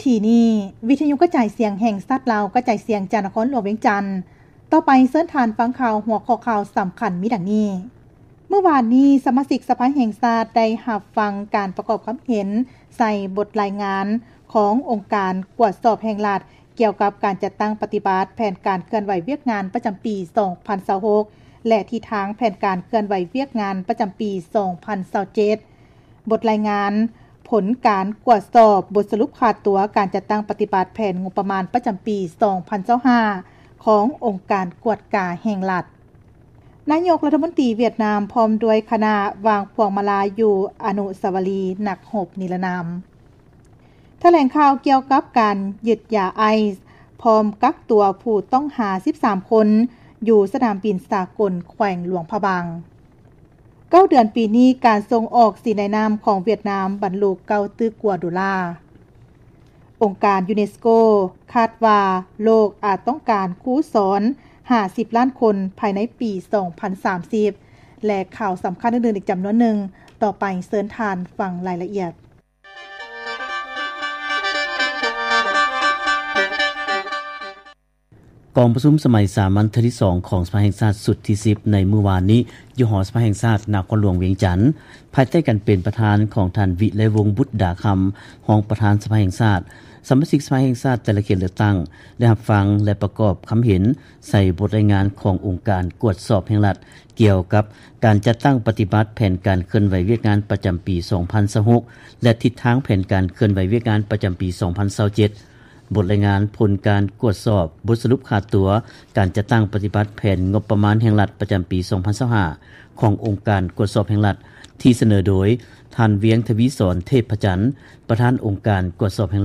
ທີ່ນີ້ ວິທະຍຸກະຈາຍສຽງແຫ່ງຊາດລາວ ກະຈາຍສຽງຈາກນະຄອນຫຼວງວຽງຈັນ. ຕໍ່ໄປເຊີນທ່ານຟັງຂ່າວ ຫົວຂໍ້ຂ່າວສຳຄັນມີດັ່ງນີ້. ມື້ວານນີ້ ສະມາຊິກສະພາແຫ່ງຊາດໄດ້ຮັບຟັງການປະກອບຄຳເຫັນໃສ່ບົດລາຍງານຂອງອົງການກວດສອບແຫ່ງລັດ ກ່ຽວກັບການຈັດຕັ້ງປະຕິບັດແຜນການເຄື່ອນໄຫວວຽກງານປະຈຳປີສອງພັນຊາວຫົກ ແລະ ທິດທາງແຜນການເຄື່ອນໄຫວວຽກງານປະຈຳປີສອງພັນຊາວເຈັດ. ບົດລາຍງານຜົນການກວດສອບບົດສະຫຼຸບຄ່າຕົວການຈັດຕັ້ງປະຕິບັດແຜນງົບປະມານປະຈຳປີສອງພັນຊາວຫ້າ ຂອງອົງການກວດກາແຫ່ງລັດ. ນາຍົກລັດຖະມົນຕີຫວຽດນາມ ພ້ອມດ້ວຍຄະນະ ວາງພວງມາລາຢູ່ອະນຸສາວະລີນັກຮົບນິລະນາມ. ຖະແຫຼງຂ່າວກ່ຽວກັບການຍຶດຢາໄອສ໌ ພ້ອມກັກຕົວຜູ້ຕ້ອງຫາສິບສາມຄົນ ຢູ່ສະໜາມບິນສາກົນແຂວງຫຼວງພະບາງ. ເກົ້າເດືອນປີນີ້ ການສົ່ງອອກສີໃນນ້ຳຂອງຫວຽດນາມບັນລຸເກົ້າຕື້ກວ່າໂດລາ. ອົງການຢູເນສໂກຄາດວ່າໂລກອາດຕ້ອງການຄູສອນຫ້າສິບລ້ານຄົນພາຍໃນປີສອງພັນສາມສິບ ແລະ ຂ່າວສຳຄັນອື່ນໆອີກຈຳນວນໜຶ່ງ. ຕໍ່ໄປເຊີນທ່ານຟັງລາຍລະອຽດ. ກອງປະຊຸມສະໄໝສາມັນເທື່ອທີສອງຂອງສະພາແຫ່ງຊາດຊຸດທີສິບ ໃນມື້ວານນີ້ ຢູ່ຫໍສະພາແຫ່ງຊາດນະຄອນຫຼວງວຽງຈັນ ພາຍໃຕ້ການເປັນປະທານຂອງທ່ານ ວິໄລວົງ ບຸດດາຄຳ ຮອງປະທານສະພາແຫ່ງຊາດ. ສະມາຊິກສະພາແຫ່ງຊາດແຕ່ລະເຂດເລືອກຕັ້ງ ໄດ້ຮັບຟັງ ແລະ ປະກອບຄຳເຫັນໃສ່ບົດລາຍງານຂອງອົງການກວດສອບແຫ່ງລັດ ກ່ຽວກັບການຈັດຕັ້ງປະຕິບັດແຜນການເຄື່ອນໄຫວວຽກງານປະຈຳປີສອງພັນຊາວຫົກ ແລະ ທິດທາງແຜນການເຄື່ອນໄຫວວຽກງານປະຈຳປີສອງພັນຊາວເຈັດ. ບົດລາຍງານຜົນການກວດສອບບົດສະຫຼຸບຄ່າຕົວການຈັດຕັ້ງປະຕິບັດແຜນງົບປະມານແຫ່ງລັດປະຈຳປີສອງພັນຊາວຫ້າ ຂອງອົງການກວດສອບແຫ່ງລັດ ທີ່ສະເໜີໂດຍທ່ານ ວຽງທະວີສອນ ເທບພະຈັນ ປະທານອົງການກວດສອບແຫ່ງ